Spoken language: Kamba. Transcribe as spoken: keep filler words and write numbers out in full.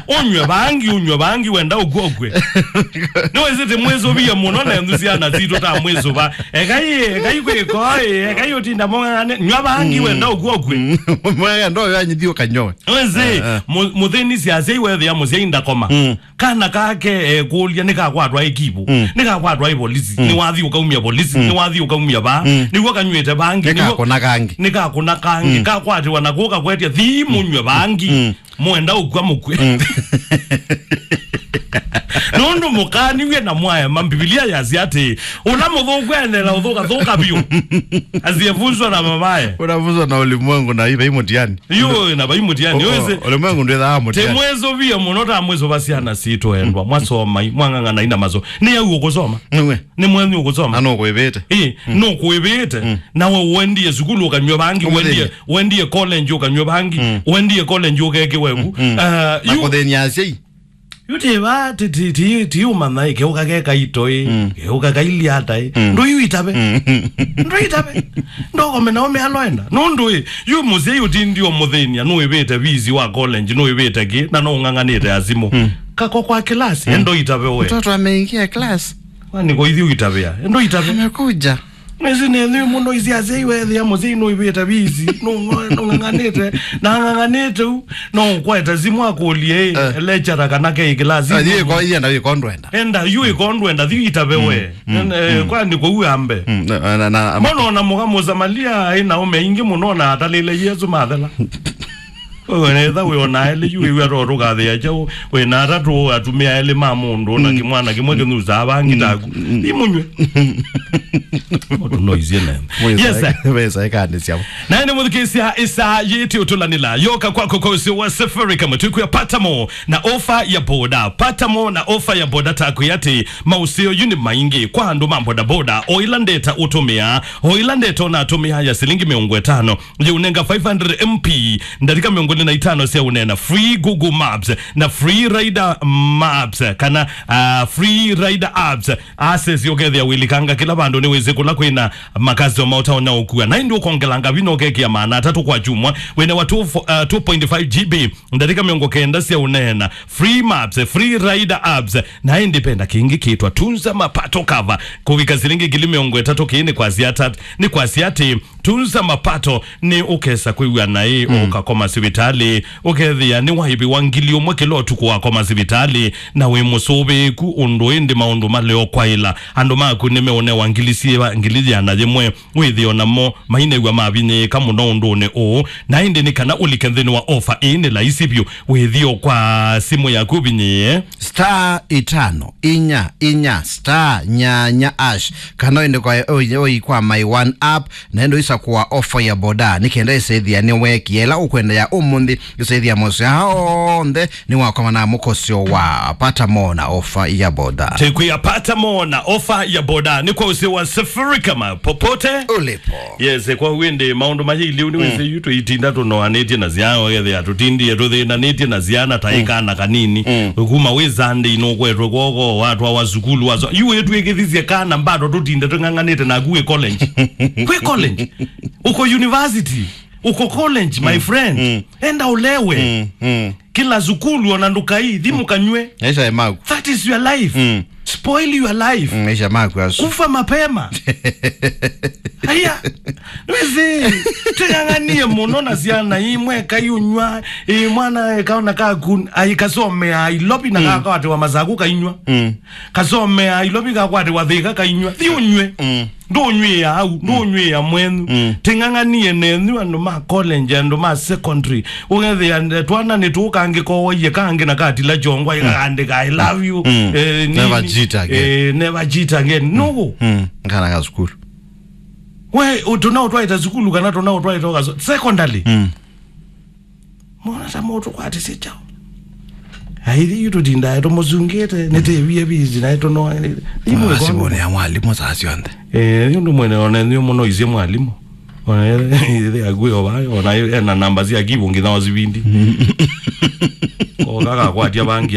Ũnywe vangi, ũnywe vangi, wenda ũkw'a ũkw'e. Nĩwĩsĩ tĩmwĩsũvie mũno na nthu syana sitũ ta mwĩsũva. Ekai, ekai kwĩkoĩ, ekai ũtinda mũng'ang'ane. Nywa vangi, wenda ũkw'a ũkw'e. Mwana ndo yanyithi ũkanyoe. Wĩsĩ, eh, eh, mũ-, mũthĩni syasya iwethĩa mũsyai ndakoma. Mm. Kana kake ekũlya nĩkakwatwa ĩ kivu, mm, nĩkakwatwa ĩ polisi, mm, nĩwathi ũkaumya polisi, mm, nĩwathi ũkaumya vaa, mm, nĩw'o kanyw'ĩte vangi, nĩw'o nĩkakũna kangi, nĩkakũna kangi, mm, kakwatĩwa na kũka kwetya thi mũnywe vangi, mm, mwenda ũkw'a mũkw'e. Mm. Nũndũ mũkaniw'e na mwaema, Mbivilia yasya atĩ, ũla mũthũku endeela ũthũka, thũka vyũ. Asiyevunzwa na mamaye. Ũnavunzwa na ulimwengu na vai mũtiani. Yu, na vai mũtiani, o, yu, o, ĩsĩ. Ulimwengu ndwĩthaa mũtiani. Tĩmwĩsũvie mũno ta mwĩsũva syana sitũ endwa. Mwasomai, mwang'ang'anai na maso. Nĩ au ũkũsoma. Nĩwe. Nĩ mwenyu ũkũsoma. Na nũkwĩvĩte. Ĩ, mm, nũkwĩvĩte. Mm. Nawe wendie sukulu ũkanywe vangi, ũmũthĩnye, wendie, wendie college ũkanywe vangi, mm, wendie college ũkekĩwe ku. Mm. Ah, na yu kũthĩnia asyai. Yu ti va, ti, ti, ti, ti ũmanya ĩ, keũka ke kaito ĩ, mm, keũka kailyata ĩ. Mm. Ndũyu itabe. Mm. Ndũitabe. Ndokome na ũme aloenda. Nũndũ ĩ, yu mũsyai ũtindi ũmũthĩnia, nũĩvĩte visi wa college, nũĩvĩte kĩ, na no ũng'ang'anĩte asimũ. Mm. Kako kwa class, mm, endo itabe we. Mtoto ameingia class. Kwani kwa ithiĩ ũitavĩa? Endo itabe. Amekuja. Nĩsĩ nĩ nthĩ mũno isi asyai wethĩa mũsyai nũĩvĩte visi, nũ-, nũ-, nũng'ang'anĩte, na ang'ang'anĩte u, no ũkwete simũ akũlye, eh, lecturer kana ke class. Ah, thiĩ ko, thiĩ enda wĩko ndwenda. Enda, yu ĩko ndwenda, thiĩ itabe we. Mm, mm, eh, mm. Kwani kũu ambe. Mm, na, na, na, mbona ona mũka mũsamalia aĩ na ũme aingĩ mũno na atalĩle Yesũ mathela. Wewe netha wĩ ona elĩ yu wĩw'a to tũkathĩa kyaũ, wĩ na atatũ atumĩa elĩ ma mũndũ, na, mm, kĩmwana kĩmwe kĩnusaa vangi, mm, taku. Mm. Imũnywe. Mũndũ noisie nene. Yes, sir. Wesa ĩkandĩ syao. Na nĩ mũthikĩsya ĩsaa yĩtĩ ũtũlanĩla. Yoka kwako kwa ũsĩ wa Safaricom. Twĩkwĩa patamo na ofa ya boda. Patamo na ofa ya boda takwĩ atĩ maũseo yu nĩ maingĩ kwa andũ ma bodaboda. O ila ndeta ũtũmĩa, o ila ndeta ona atũmĩa ya silingi mĩongo ĩtano. Yĩũnenga five hundred M P, ndatĩka mĩongo ĩlĩ na itano sya ũneena, free Google Maps, na free Rider Maps, kana, ah, free Rider Apps. Access ũkethĩa wĩlikanga kĩla vandũ nĩwĩsĩ kũla kwĩna makasitoma ũtaonya ũkua. Na ĩndĩ ũkongelanga vinya ũkekĩa maana atatũ kwa kyumwa, wĩnewa two, uh, two point five G B, ndatĩka mĩongo kenda sya ũneena, free Maps, free Rider Apps, na ĩndĩ vena kĩngĩ kĩtwa Tunza Mapato Cover. Kũvika silingi ngili mĩongo ĩtatũ kĩĩ nĩ kwasya ata-, nĩ kwasya atĩ Tunza Mapato nĩ ũkesa kwĩw'a naĩ, mm, ũkakoma sivitalĩ, ũkethĩa nĩ waĩvĩwa ngili ũmwe kĩla ũtukũ wakoma sivitalĩ, na wĩ mũsũvĩĩku ũndũ ĩndĩ maũndũ maleokwaĩla. Andũ maku nĩmeũnewa ngili syĩva, ngili yĩana yĩmwe, wĩthĩo namo mainew'a mavinyĩĩka mũno ũndũnĩ ũũ, na ĩndĩ nĩ kana ũlike nthĩnĩ wa ofa ĩĩ nĩ laisi vyũ, wĩthĩo kwa simũ yaku ũvinyĩĩe star ĩtano inya inya star nyanya hash, kana ũende kwa, ũi, ũi kwa My One app, na ĩndĩ ũisakũa ofa ya boda, nĩ kenda ĩsethĩa nĩweekie ĩla ũkwendea ũmũnthĩ, ĩsethĩa moseo onthe nĩwakomana mũkosyo wa patamo na ofa ya boda. Tekwĩa patamo na ofa ya boda nĩ kwa ũsĩ wa Safaricom popote ulipo. Yes, kwa wende maũndũ maye iliu nĩ, mm, wĩsĩ yu tũitinda tũnoanĩtye na syana, ũkethĩa tũtindie tũthĩnanĩtye na syana ta, mm, ĩkana kanini. Mm. Kuma wĩ Sunday nũkwetwe kwoko, watwawa sukulu, waso. Yu wĩtwĩkĩthisye kana bado tũtinde tũng'ang'anĩte naku wĩ college. Kwĩ college. Uko university. Uko college, my, mm, friend. Mm. Enda ũlewe. Mm, mm. Kĩla sukulu ona ndũkai, thimu kanywe. Maisha ya maku. That is your life. Mm. Spoil your life. Mm, maisha maku asu. Kufa mapema. Aya. Wĩsĩ, tũng'ang'anie mũno na syana imwe kaiũnywa, ĩ mwana ekaona kaku, aikasomea Nairobi na, mm, kakawatĩwa Masaku kainywa. Mm. Kasomea Nairobi kakwatĩwa Thĩka kainywa. Thi ũnywe. Mm. Ndũnyw'ĩa au, mm, ndũnyw'ĩa mwenyu. Mm. Tĩng'ang'anie nenyu andũ ma college, andũ ma secondary. Ũkethĩa twana nĩtũkangĩkowaie kangĩ na katila kyongwa, mm, ĩkakandĩka, "I love you." Mm. Eh, nini? Never cheat again. Eh, never cheat again. Mm. Nũũ? Mm. Kana ka sukulu. We, ũ-, tũnaũtwaĩte sukulu kana tũnaũtwaĩte ũkaso-, secondary. Mm. Mona ta mũndũ kwatĩsye kyaũ. Aithi yu tũtindae tũmũsungĩte, nĩtĩwie bizi naĩ tũnoa. Imwe simone ya mwalimũ saa syonthe. Eh, yu ndũ mwene ona nĩ mũno isie mwalimũ. Ona ithe agwĩ o vayo, ona ena namba sya kivu nginya osivindi. Ko kaka kwatia bangi